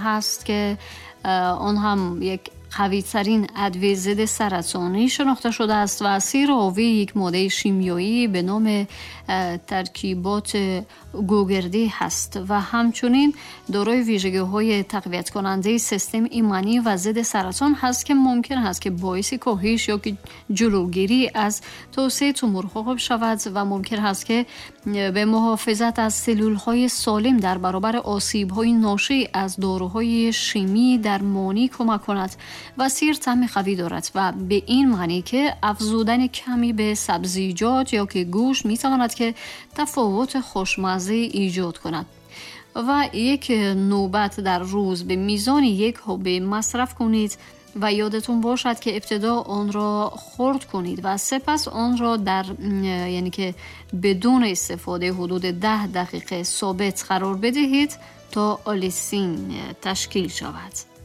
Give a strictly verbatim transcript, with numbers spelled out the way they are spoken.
هست که آن هم یک قوی ترین ادویه ضد سرطانی شناخته شده است و سیر حاوی یک ماده شیمیایی به نام ترکیبات گوگردی هست و همچنین دارای ویژگی های تقویت کننده سیستم ایمنی و ضد سرطان هست که ممکن است که باعث کاهش یا که جلوگیری از توسعه تومورها شود و ممکن هست که به محافظت از سلول های سالم در برابر آسیب های ناشی از داروهای شیمی درمانی کمک کند. و سیر طعم قوی دارد و به این معنی که افزودن کمی به سبزیجات یا که گوشت می تواند که تفاوت خوشمزه ایجاد کند. و یک نوبت در روز به میزان یک حبه مصرف کنید و یادتون باشد که ابتدا آن را خرد کنید و سپس آن را در یعنی که بدون استفاده حدود ده دقیقه ثابت قرار بدهید تا آلیسین تشکیل شود.